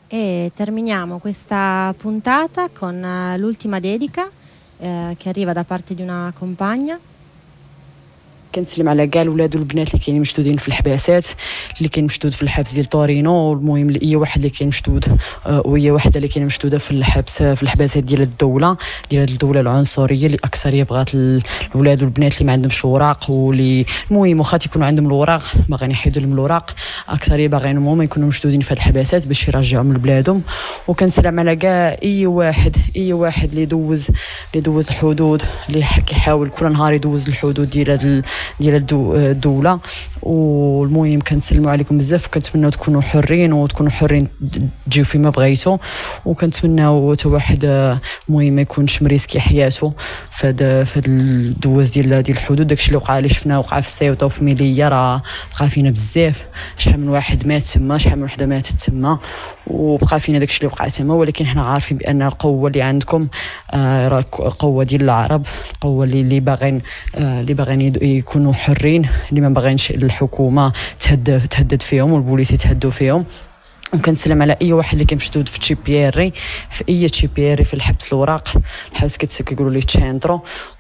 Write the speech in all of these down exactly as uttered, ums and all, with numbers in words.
E terminiamo questa puntata con eh, l'ultima dedica eh, che arriva da parte di una compagna. كنسلم على كاع الولاد والبنات اللي كاينين مشدودين في الحباسات، اللي كاين مشدود في الحبس ديال تورينو. المهم اي واحد اللي كاين مشدود آه، وهي وحده اللي كاينه مشدودة في الحبس، في الحباسات ديال الدوله، ديال هاد الدولة العنصرية اللي اكثرية بغات الولاد والبنات اللي ما عندهمش الوراق، واللي المهم واخا تيكونوا عندهم الوراق باغيين يحيدوا لهم الوراق، اكثرية باغيين هما يكونوا مشدودين في هاد الحباسات باش يرجعوهم لبلادهم. وكنسلم على كاع اي واحد، اي واحد اللي دوز، اللي دوز الحدود، اللي كيحاول كل نهار يدوز الحدود ديال هاد ديال الدوله. والمهم كنسلموا عليكم بزاف، وكنتمناو تكونوا حرين وتكونوا حرين تجيو فيما بغيتو، وكنتمناو حتى واحد المهم ما يكونش مريسكي حياته فهاد فهاد الدواز ديال ديال الحدود. داكشي اللي وقع اللي شفناه وقع في السيوطه وفي ميليا راه بقى فينا بزاف، شحال من واحد مات تما، شحال من وحده ماتت تما، وبقى فينا داكشي اللي وقع تما. ولكن حنا عارفين بان القوة اللي عندكم آه، راه قوة ديال العرب، القوة اللي اللي باغين آه، اللي باغين يكونوا حرين، اللي ما باغينش الحكومة تهدد تهدد فيهم والبوليس يتهدوا فيهم. وكنسلم على اي واحد اللي كيمشدود في C P R، في اي C P R في الحبس الوراق، الحبس كيقولوا ليه centro.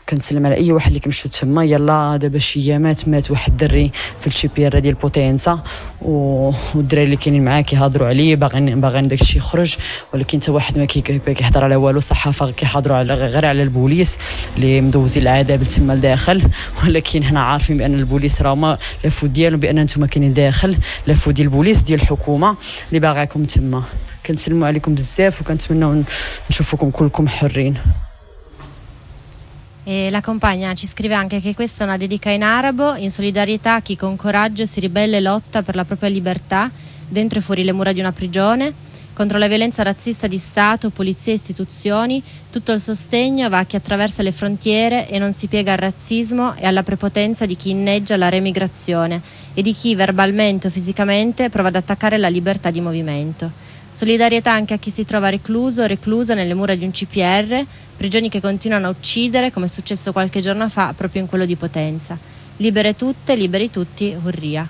كنسلم على اي واحد اللي كيمشدود تما. يلا دابا شي ايامات مات واحد الدري في ال C P R ديال بوتينسا، والدراري اللي كاينين معاه كيهضروا عليه، باغيين باغيين داكشي يخرج، ولكن حتى واحد ما كيهضر على والو. الصحافة كيهضروا على غير على البوليس اللي مدوزين العذاب تما لداخل، ولكن حنا عارفين بان البوليس راه ما la faute ديالهم بان نتوما كاينين داخل، la faute ديال البوليس ديال الحكومة اللي باغاكم تما. كنسلموا عليكم بزاف وكنتمناو نشوفكم كلكم حرين. E la compagna ci scrive anche che questa è una dedica in arabo, in solidarietà a chi con coraggio si ribella e lotta per la propria libertà, dentro e fuori le mura di una prigione, contro la violenza razzista di Stato, polizia e istituzioni. Tutto il sostegno va a chi attraversa le frontiere e non si piega al razzismo e alla prepotenza di chi inneggia la remigrazione e di chi verbalmente o fisicamente prova ad attaccare la libertà di movimento. Solidarietà anche a chi si trova recluso o reclusa nelle mura di un C P R, prigioni che continuano a uccidere, come è successo qualche giorno fa proprio in quello di Potenza. Libere tutte, liberi tutti, Hurria.